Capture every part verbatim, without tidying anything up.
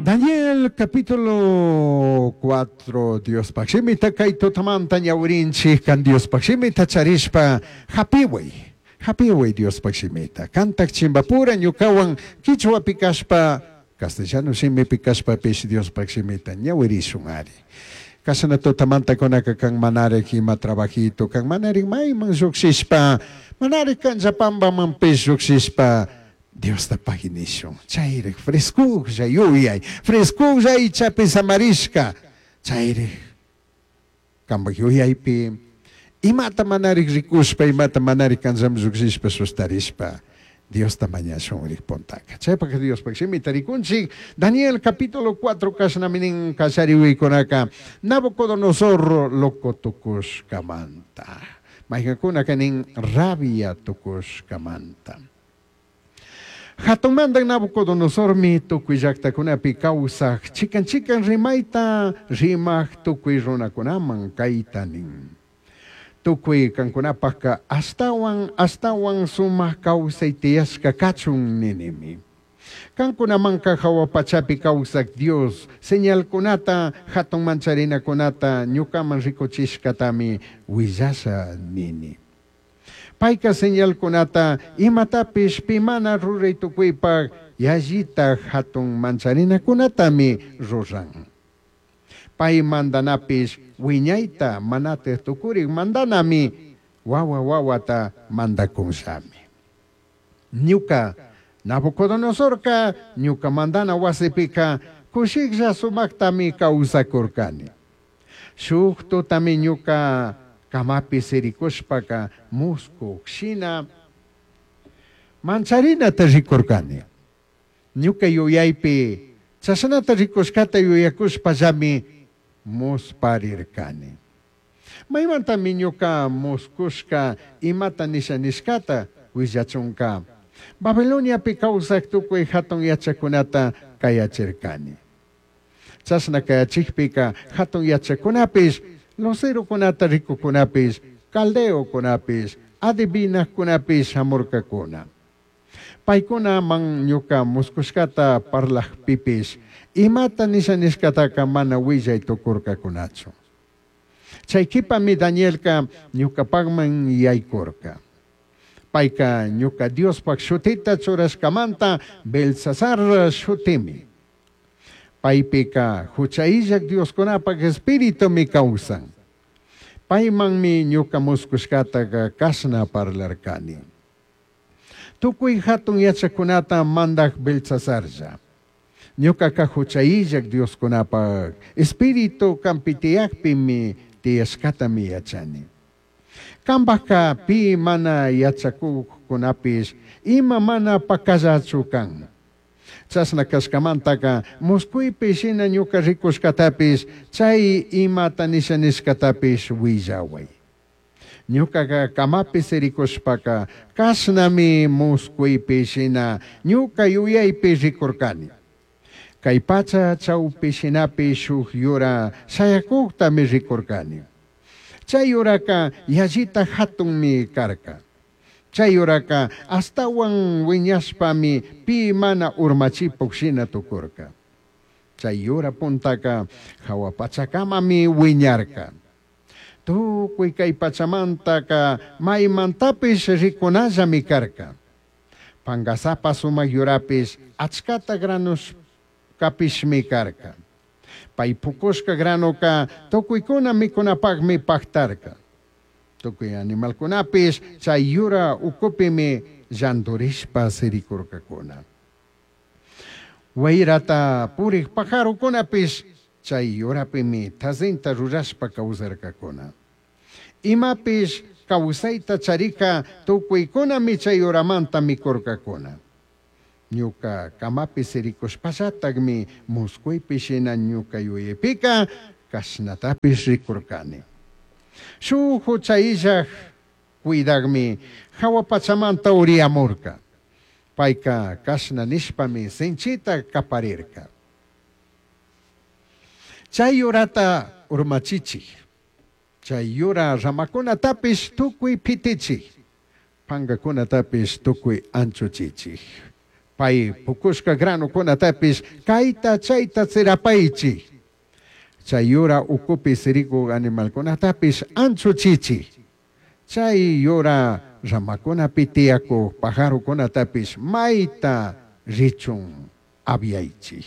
Daniel capítulo cuatro, Diospaj shimita kay tutamanta ñawirinchik, kan Diospaj shimita charishpa hapiway, hapiway Diospaj shimita. Kantak chimbapura ñukawan quichwapi kashpa, castellano shimipi kashpapish Diospaj shimita ñawirishun ari. Kashna tutamantakunaka kan manarik ima trabajito, kan manarik mayman llukshishpa, manarik kanllapampamanpish llukshishpa, Diosta pagui nishun. Chayrik frescujlla yuyay, frescujlla aychapi samarishka, chayrik kanpak yuyaypi imata manarik rikushpa, imata manarik kanllaman llukshishpa sustarishpa, Diosta mañashunrik puntaka. Chaypak Diospaj shimita rikunchik, Daniel capítulo cuatro kashnami nin kallariwiykunaka, Nabucodonosor loco tukushkamanta. Mayqankunaka nin rabia tukushkamanta. Hatunmantan Nabucodonosormi tukuy llaqtakunapi kawsaq chikan chikan rimayta rimaq tukuy runakunaman kayta nin. Tukuy kankunapaqqa astawan astawan sumaq kawsay tiyashka kachun ninimi. Kankunamanqa hawa pachapi kawsaq Dios señalkunata hatun mancharinakunata ñukaman rikuchishkatami willasha nini. Payka señalkunata imatapish pi mana ruray tukuypaq yallita hatun mancharinakunatami ruran. Pay mandanapish wiñayta manataq tukurik mandanami wawa wawata mandakunllami. Ñuka Nabucodonosorka ñuka mandana wasipika kushiklla sumaktami kawsakurkani. Shuk tutami ñuka kamapi sirikushpaka muskuq shina mancharinata rikurkani. Ñuka yuyaypi chashnata rikushkata yuyakushpallami musparirkani. Maymantami ñuka muskushka imata nisha nishkata willachunka Babiloniapi kawsaq tukuy hatun yachakunata kayachirkani. Chashna kayachikpika hatun yachakunapish, lucerokunata rikukunapish, caldeokunapish, adivinajkunapish hamurkakuna. Paykunaman ñuka muskushkata parlajpipish, imata nisha nishkataka mana willay tukurkakunachu. Chay kipami Danielka ñukapakman yaykurka. Payka ñuka Diospaj shutita churashkamanta Belsasar shutimi. Paypika hucha illak Dioskunapak espiritumi kawsan. Paymanmi ñuka muskushkataka kashna parlarkani. Tukuy hatun yachakunata mandak Belsasarlla. Ñukaka hucha illak Dioskunapak espíritu kanpi tiyakpimi tiyashkatami yachani. Kanpaka pi mana yachakuqkunapish ima mana pakallachu kan. Chashna kashkamantaka muskuypi shina ñuka rikushkatapish chay imata nisha nishkatapish willaway. Ñukaka kamapi sirikushpaka kashnami muskuypi shina ñuka yuyaypi rikurkani. Kay pacha chawpi shinapi shuk yura shayakuqtami rikurkani. Chay yuraka yallita hatunmi karka. Chay yuraka astawan wiñashpami pi mana urmachipuq shina tukurka. Chay yura puntaka hawa pachakamami wiñarka. Tukuy kay pachamantaka maymantapish rikunallami karka. Pangasapa sumaq yurapish achkata granushkapishmi karka. Pay pukushka granuka tukuykuna mikunapaqmi paktarka. Tukuy animalkunapish chay yura ukupimi llanturishpa sirikurkakuna. Wayrata purik pajarukunapish chay yurapimi tazinta rurashpa kawsarkakuna. Imapish kawsayta charika tukuykunami chay yuramanta mikurkakuna. Ñuka kamapi sirikushpallataqmi muskuypi shina ñuka yuyaypika kashnatapish rikurkani. Shuk hucha illaq cuidaqmi hawa pachamanta uriyamurka. Payka kashna nishpami sinchita kaparirka. Chay yurata urmachichik, chay yura ramakunatapish tukuy pitichik, pankakunatapish tukuy anchuchichik. Pai pucushca granocunatapish caita chaita tsirapaichij. Chai yura ucupi siricuj animalcunatapish anchuchichij. Chai yura ramacunapi tiyacuj pajarocunatapish maita richun aviaichij.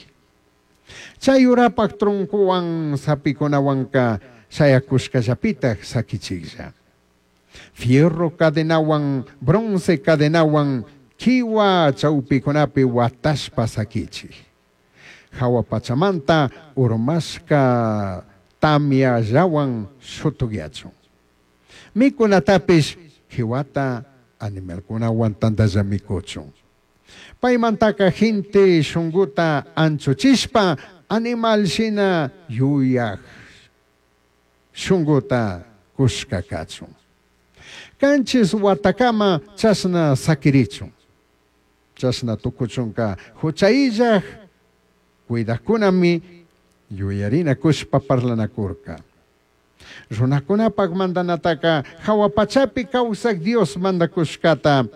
Chai yurapaj troncohuan sapicunahuanca shayacushcallapitaj saquichijlla. Fierro cadenahuan, bronce cadenahuan quihua chaupicunapi huatashpa saquichij. Jahua pachamanta urmashca tamyallahuan shutugyachun. Micunatapish quihuata animalcunahuan tandalla micuchun. Paimantaca gente shunguta anchuchishpa animal shina yuyaj shunguta cushca cachun. Canchis huatacama chashna saquirichun. Chashna tucuchunca juchaillaj cuidajcunami yuyarinacushpa parlanacurca. Runacunapak mandanataca jahua pachapi causaj Dios mandacushcata,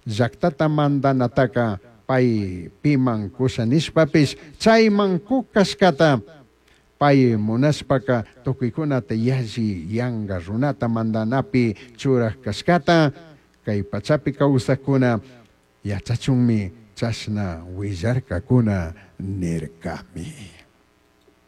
llactata mandanataca pai piman cusha nishpapish chaiman cuj cashcata, pai munashpaca tucuicunata yalli yanga runata mandanapi churaj cashcata, cai pachapi causajcuna yachachunmi chashna huillarcacuna nircami.